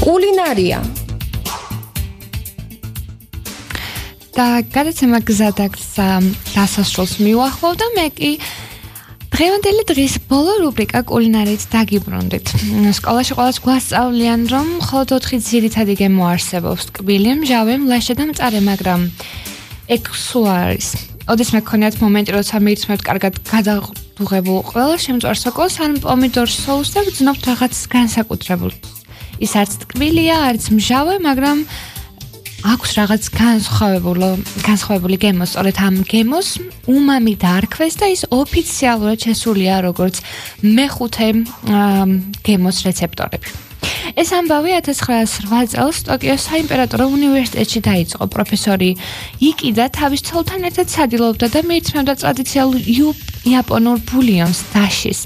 კულინარია და გადაცემა გზადაგზა დასასრულს მივახლოვდა მე კი დღევანდელი დღის ბოლო რუბრიკა კულინარიით დაგიბრუნდით. სკოლაში ყოველს გვასწავლიან, რომ მხოლოდ 4 ძირითადი გემო არსებობს: ტკბილი, მჟავე, მლაშე და მწარე, მაგრამ ეგ სულ არის. ოდესმე გქონიათ მომენტი, როცა მირთმევთ კარგად გადაღდუღებულ ყველა შემწვარ სოკოს ან პომიდორ სოუსს და გძნობთ რაღაც განსაკუთრებულს. ის არც ტკბილია, არც მჟავე, მაგრამ აქვს რაღაც განსხვავებული გემო. სწორედ ამ გემოს უმამი დაარქვეს და ის ოფიციალურად შესულია როგორც მეხუთე გემოს რეცეპტორები. ეს ამბავი 1908 წელს ტოკიოს საიმპერატორო უნივერსიტეტში დაიწყო. პროფესორი იკიდა თავის ცოლთან ერთად სადილობდა და მირთმევდა ტრადიციულ იაპონურ ბულიონს დაშის,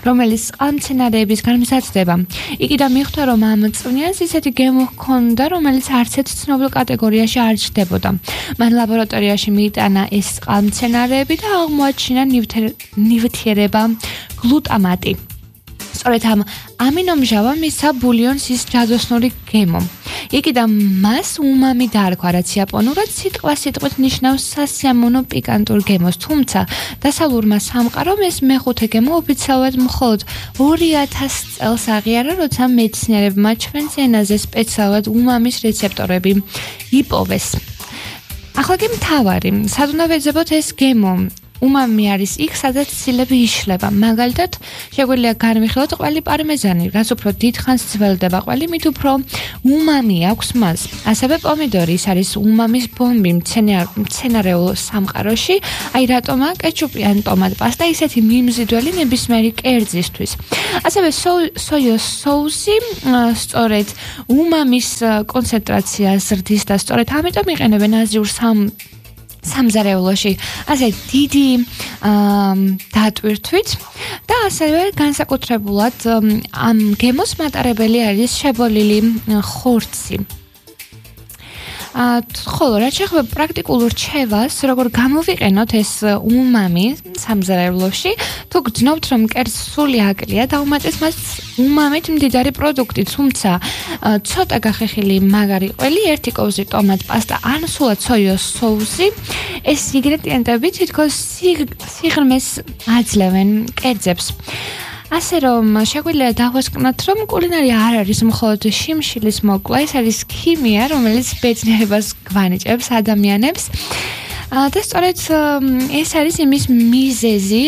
რომელიც წყალმცენარეებისგან მზადდება. იკიდა მიხვდა, რომ ამ წვნიანს ისეთი გემო ჰქონდა, რომელიც არც ერთ ცნობილ კატეგორიაში არ ჯდებოდა. მან ლაბორატორიაში მიიტანა ეს წყალმცენარეები და აღმოაჩინა ნივთიერება გლუტამატი. სწორედ ამ ამინომჟავა მისცა ბულიონს ის ჯადოსნური გემო. იკიდა მას უმამი დაარქვა, რაც იაპონურად სიტყვით ნიშნავს სასიამოვნო პიკანტურ გემოს, თუმცა დასავლურმა სამყარომ ეს მეხუთე გემო ოფიციალურად მხოლოდ 2000 წელს აღიარა, როცა მეცნიერებმა ჩვენს ენაზე სპეციალურად უმამის რეცეპტორები იპოვეს. ახლა კი მთავარი, სად უნდა ვეძებოთ ეს გემო? უმამი არის იქ, სადაც ცილები იშლება. მაგალითად, შეგვიძლია განვიხილოთ ყველი პარმეზანი, რაც უფრო დიდხანს ძველდება ყველი, მით უფრო უმამი აქვს მას. ასევე პომიდორი, ის არის უმამის ბომბი მცენარეულ სამყაროში, აი რატომა კეჩუპი ან ტომატ პასტა ისეთი მიმზიდველი ნებისმიერი კერძისთვის. ასევე სოიოს соуსი სწორედ უმამის კონცენტრაციას ზრდის და სწორედ ამიტომ იყენებენ აზიურ სამზარეულოში ასე დიდი დატვირთვით და ასევე განსაკუთრებულად ამ გემოს მატარებელი არის შებოლილი ხორცი. ხოლო რაც შეეხება პრაქტიკულ რჩევას, როგორ გამოვიყენოთ ეს უმამი სამზარეულოში, თუ გძნობთ, რომ კერძს სული აკლია, დაუმატეთ მას უმამით მდიდარი პროდუქტი, თუმცა ცოტა გახეხილი მაგარი ყველი, 1 კოვზი ტომატ პასტა ან სულად სოიოს соуსი, ეს ინგრედიენტები თითქოს სიღრმეს აძლევენ კერძებს. ასე რომ შეგვიძლია დავასკვნათ, რომ კულინარია არ არის მხოლოდ შიმშილის მოკლა, ეს არის ქიმია, რომელიც ბედნიერებას გვანიჭებს ადამიანებს. და სწორედ ეს არის იმის მიზეზი,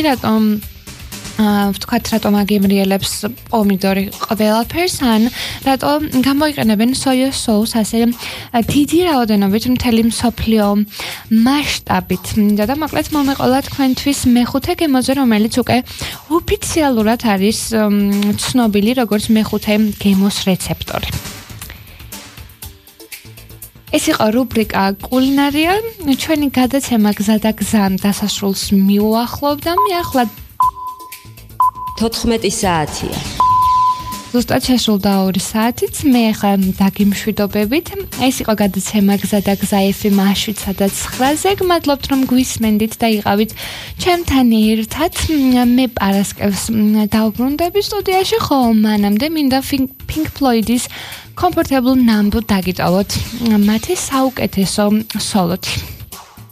ვთქვათ, რატომ აგემრიელებს პომიდორი ყველაფერს, ან რატომ გამოიყენებენ სოიოს соуს ასე დიდი რაოდენობით მთელი მსოფლიო მასშტაბით. და მოკლედ მომეყოლა თქვენთვის მეხუთე გემოზე, რომელიც უკვე ოფიციალურად არის ცნობილი როგორც მეხუთე გემოს რეცეპტორი. ეს იყო რუბრიკა კულინარია. ჩვენი გადაცემა გზადაგზა დასასრულს მივუახლოვდა. მე ახლა 14 საათია. ზუსტად შესრულდა 2 საათიც. მე ახლა დაგიმშვიდობებით. ეს იყო გადაცემა გზადაგზა FM 7-9-ზე. გმადლობთ, რომ გვისმენდით და იყავით ჩემთან ერთად. მე პარასკევს დავბრუნდები სტუდიაში, ხო მანამდე მინდა Pink Floyd-ის Comfortable Numb დაგიტოვოთ მათი საუკეთესო სოლოთი.